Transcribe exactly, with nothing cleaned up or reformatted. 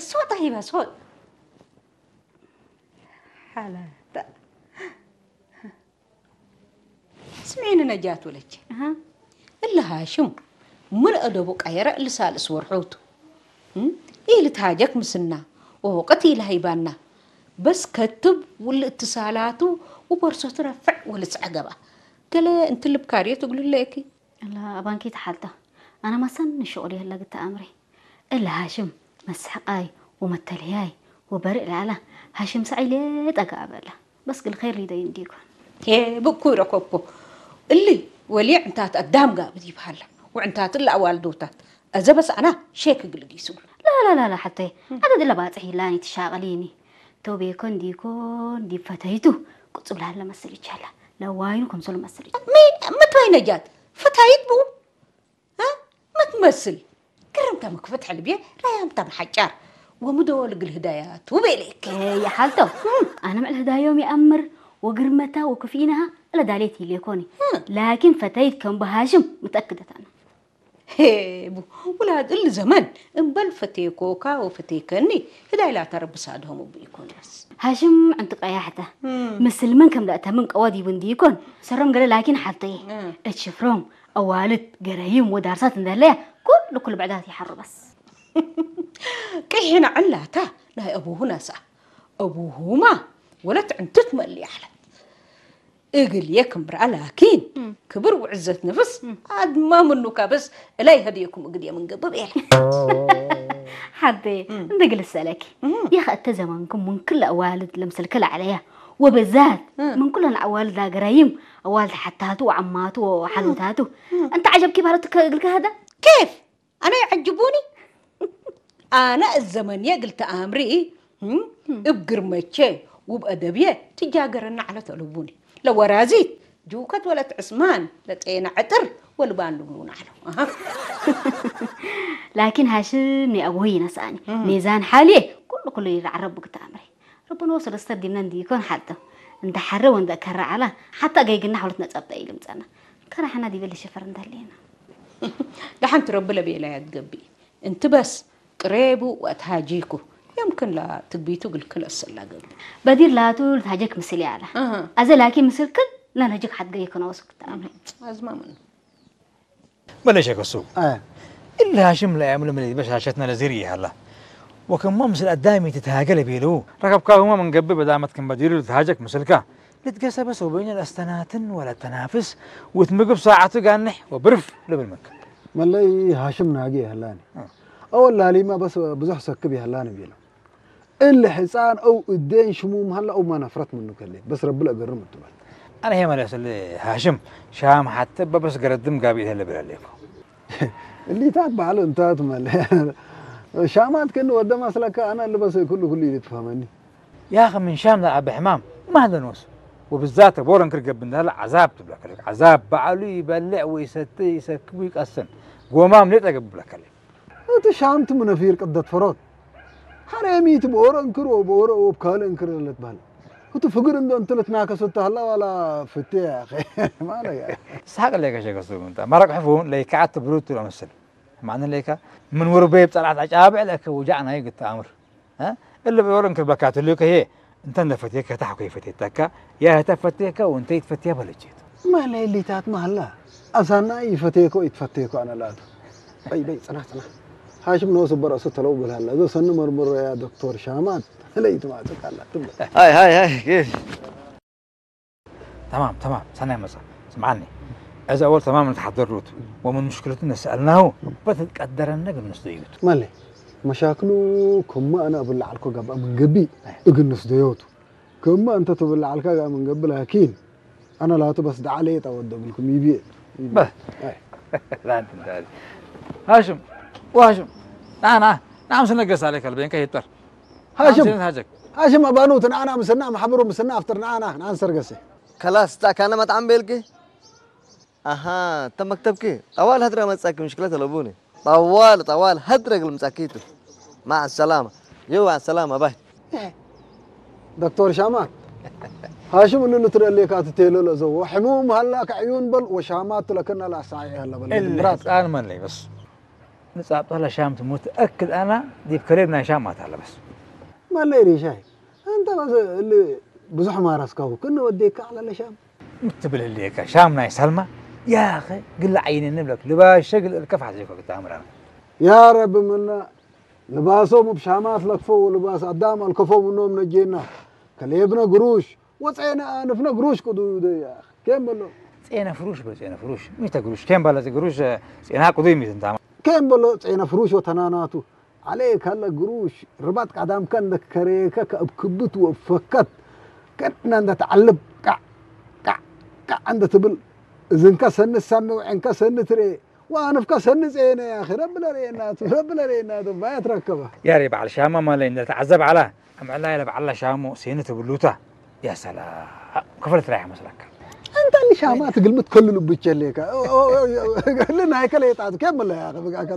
ሶጥ ሀይባ ሶጥ። ሐላታ። ስምዒኒ ነጃት ወለቼ። አሃ። እሊ ሃሽም ምን አደቡ ቀየረ እሊ ሳልስ ወርሑ ቱ። እም? ኢልትሃጀክ ምስልና ወወቅት ኢልሀይባና። በስ ከትብ ወሊ እትሳላቱ ወቦርሶቱ ረፍዕ ወልጽዐ ገብአ። ገሌ እንቲ ልብካርየት እግሉ ለኪ። እላ አባንኪ ተሓልተ። አነ መሰኒ ሽቁል የህለ ግተ አምሪ። እለ ሃሽም መስሐቃይ ወመተልህያይ ወበርእ ለዐለ፣ ሃሽም ሰዐይ ሌጠ ገአበ እለ። በስ ግል ኸይር ሊደዩ እንዲኮን። ሄ ብኩ ረኮኮ። እሊ ወልየ ዕንታት አዳም ጋብእ ዲብ ሀለ፣ ወዕንታት እለ አዋልዶታት አዘ በስ አና ሼክ እግል ዲስ እግሉ። ላላላላ ሐቴ፣ አደድ እለ ባጽሕ ይላኒ ትሻቀሊኒ። ቶቤኮ እንዲኮን ዲብ ፈተይቱ ቅጹብ ለሀለ መስል ይቻለ፣ ለዋይኑ ክምሰሉ መስል ይቻለ። ሚ፣ ምትወይ ነጃት፣ ፈታይት ቡ? እ? መትመስል? ግርምተ መክፈት ሕልብየ፣ ራያምተ መሐጫር፣ ወምዶ ልግል ህዳያቱ ቤሌክ። ኤ፣ የሓልተው፣ እም። አነ ምዕል ህዳዮም ይአምር፣ ወግርመታ ወክፍኢነሃ እለ ዳሌት ይሌኮኒ። እም። ላኪን ፈተይት ከም በሃሽም ምትአክደት አነ። ሄ፣ ቡ፣ ውላድ እሊ ዘመን፣ እምበል ፈቴኮካ ወፈቴከኒ፣ ህዳይ ላተ ረቢ ሳድሆም እቡ ኢኮን በስ። ሃሽም ዕንቱ ቀያሕተ፣ እም። ምስል ምን ከም ለአተምን ቀወ ዲቡ እንዲኮን፣ ሰሮም ገለ ላኪን ሓልተየ። እም። እት ሽፍሮም፣ አዋልድ፣ ገረይም ወዳርሳት እንደለየ ኩሉ ኩሉ ብዕዳት ይሐሩ በስ። ቅሒነ ዕላታ ናይ አቡሁ ነስአ። አቡሁማ ወለት ዕንትት መልየ ዐለት። እግልዬ ክምብርአ ላኪን እም። ክብር ወዕዘት ነፍስ እም። አድማ ምኑ ካብስ እላይ ሀድየኩም እግልዬ ምን ገብእ ቤለ። ሐቴ እም። እንደ ግል እሰለኪ፣ እም። የኸ እተ ዘመንኩም ምን ክል አዋልድ ለምሰልከ ለዐለያ፣ ወበዛት እም። ምን ኩለን አዋልድ ለገራይም፣ አዋልድ ሐታቱ ወዐማቱ ወሐሉታቱ። እም። እንተ ዐጀብ ኪብ ሀለትከ እግልከ ሀደ? ኬፍ? አነ ይዐጅቡኒ። አነ እት ዘመንየ እግል ተአምሪ፣ እም፣ እም። እብ ግርመቼ ወእብ አደብየ ትጃገረነ ዐለት አለቡኒ። ለወራዚት ጅውከት ወለት ዕስማን፣ ለጤነ ዕጥር ወልባን ልብሉነ ዐለው። አሃ። ላኪን ሃሽም አቡሁ ይነስአኒ። እም። ሜዛን ሓልዬ ኩሉ ኩሉ ይረዐረቡ እግል ተአምሪ። ረቡነ ወሰለስተር ዲብነ እንዲኮን ሐልተው። እንተ ሐረ ወእንተ ከረ ዐለ፣ ሐታ ገይግና ሐውለት ነጸብጠ ኢልምጸና። ከረ ሐና ዲበ ልሽፈር እንተ ህሌና። ደሐን ቱ ረቢ ለቤለያ ትገብእ። እንቲ በስ ቅሬቡ ወአትሃጂኩ። የምክን ለትግቢቱ እግልክን ለአሰላ ገብእ። በዲር ላቱ ልትሃጀክ ምስል ያለ። አሃ። አዘ ላኪን ምስል ክል ለነጅክ ሐት ገይክ ነወስክ ተአምር። አዝማ ምኑ። በለ ሸክ እሱ። አየ። እሊ ሃሽም ለአያምሉ ምን በሻሸትነ ለዚር ይሀላ። ወክማ ምስል አዳሚ ትትሃገ ለቤሉ። ረከብካሁማ ምን ገብእ በዳመት ክም በዲሩ ልትሃጀክ ምስልካ። ልትገሰበስ ወበይነ ለአስተናትን ወለተናፍስ ወእት ምግብ ሳዐቱ ጋንሕ ወብርፍ ልብል ምንከ። መለይ ሃሽም ናጌ ይሀላኒ። አ። አወል ላሊማ በስ ብዙሕ ሰክብ ይሀላኒ ቤለው። እሊ ሕጻን አው እዴን ሽሙም ሀለ አው ማ ነፍረት ምኑ ከሌ፣ በስ ረቢ ለእገርም እቱ በል። አነ ሄ መለስ እሊ ሃሽም ሻም ሐቴ በበስ ገረድም ጋብእ ህለ ብለሌኮ። እሊታት በዐል እንታት መለ። ሻማት ክእኒ ወደ መስለከ አነ እሊ በስ ኩሉ ኩሉ ኢልትፈሀመኒ። ያኸ ምን ሻም ለአበ ሕማም ማ ደኖስ? ወብዛተ ቦረ እንክር ገብእ እንደ ዐዛብ ትብለከ። ዐዛብ በዐሉ ይበልዕ ወይሰቲ ይሰክብ ወይቀስን። ጎማም ሌጠ ገብእ ብለከ። እት ሻምቱ ምን ነፊር ቅደት ፈሮት። ሐሬሚት በኦሮ እንክር ወበኦሮ ወብ ካልእ እንክር ለልትበህል። እቱ ፍግር እንዶ እንቱ ልትናከሱ ተህላ ዋላ ፍቴ ያኸ። ማለ ያ። ሳቅ ለከ ሸከሱ እንተ። መረቅ ሕፉን ለይከዓት ብሩት ለመስል። ማዕነ ለይካ ምን ወርበይ ብጸርዓት አጫብዕ ለከ ውጃዕ ናይ ግተ አምር። እ? እለ በኦሮ እንክር በካቱ ልከ ህዬ እንተ እንደ ፈቴከ ታሕኮ ይፈቴተካ፣ ያ ህተ ፈቴከ ወእንተ ኢትፈቴ በለቼት። ማለ እሊታት ማላ፣ አሳና ኢፈቴኮ ኢትፈቴኮ አነ ላቱ። በይ፣ በይ፣ ጽናሕ፣ ጽናሕ። ሃሽም ኖሱ በረሱ ተለው ብልሃላ። እዞ ሰኒ መርምሮ ያ ዶክቶር ሻማት፣ ለይትማጽቅ አላ ትብል። ሃይ፣ ሃይ፣ ሃይ፣ ኬፍ። ተማም፣ ተማም፣ ሰናይ መጽአ። ስምዓኒ። እዚ አወል ተማም ንትሓደሩቱ፣ ወምን ምሽክለቱ ነሰአልናሁ፣ በትትቀደረነ እግል ንስደዩቱ። ማለ፣ መሻክሉ ክመ አነ እብል ለዐልኮ ገብአ ምን ገብእ፣ እግል ንስደዮቱ። ክመ እንተ ትብል ለዐልካ ገብአ ምን ገብእ፣ ላኪን፣ አነ ላቱ በስ ደዐ ሌጠ ወደ እግልኩም ይብዬ። በ-፣ አይ። ላንት እንተ ሃሽም፣ ወሃሽም፣ ና፣ ና፣ ና፣ ምስልነ ገስ አለከ፣ ልቤንከ ይጠር። ሃሽም፣ ሃሽም፣ ሃሽም። ሃሽም አባኑት፣ ና፣ ና፣ ምስልና፣ መሐብሩ፣ ምስልና፣ አፍጥር፣ ና፣ ና፣ ና፣ አንሰር ገሴ። ከላስ፣ ጻካነ መጥዓም ቤልኪ? አሃ፣ እተ መክተብኪ ጠዋል ሀድረ መጽአኪ፣ ምሽክለት አለቡኒ። ጠዋል፣ ጠዋል ሀድረ እግል ምጽአኪ ቱ። መዐ ሰላመ። ዮ፣ መዐ ሰላመ፣ ባይ። ዶክቶር ሻማት፣ ሃሽም እሉ ልትረኤ ሌካ ትቴሎ ለዘዎ፣ ሕሙም ሀላ ከዕዩን በል፣ ወሻማት ለክነ ለአሳዒ ሀለ በል፣ እሊ ምራት። ህጻን መን ለይ በስ? ጻብጠ ለሻም ትሙት እክድ አና ዲብ ከሌብ ናይ ሻም አታለ በስ። መለይ ሪሻይ፣ እንተ በስ እሊ ብዙሕ ማረስካሁ ክነ ወዴካ ዐለ ለሻም። ምትብል ህሌከ ሻም ናይ ሰልማ፣ ያኸ ግለ ዓይኒ ንብለክ ልባሸ ግለ እልከፍ ሐዜኮ ግታምራ። ያ ረቢ ምነ ልባሶም እብ ሻማት ለክፈው ወልባስ አዳም አልከፈው ምኖም ነጄና። ከሌብነ ግሩሽ ወጼነ አንፍነ ግሩሽ ቅዱይ ደ ያኸ። ኬን በሎ። ጼነ ፍሩሽ በል ጼነ ፍሩሽ። ሚተ ግሩሽ። ኬን በለ ግሩሽ ጼና ቅዱይ ሚት እንታማ። ኬን በሎ ጼነ ፍሩሽ ወተናናቱ። ዐሌክ ሀለ ግሩሽ ርባጥ ቀዳምከ እንደ ከሬከ ከእብ ክብት ወእብ ፈከት ከእነ እንደ ተዐልብ ቀዕ ቀዕ ቀዕ እንደ ትብል እዝንከ ሰኒ ትሰሜ ወዔንከ ሰኒ ትርኤ ወአንፍከ ሰኒ ጼነ ያኺ ረቢ ለርኤናቱ ረቢ ለርኤናቱ ባየት ረከበ። ያሬ በዐል ሻማ ማለ እንደ ተዐዘብ ዐላ አምዕላ ለበዐል ሻሙ ሴኒ ትብሉታ። ያ ሰላም ክፍለት ራይሐ መስለከ። እንተ እሊ ሻማ ትግልምት ከሉ ልቡ ቸሌከ እሊ ናይከ ሌጣቱ ኬን ብለ ያኺ ብቃከ።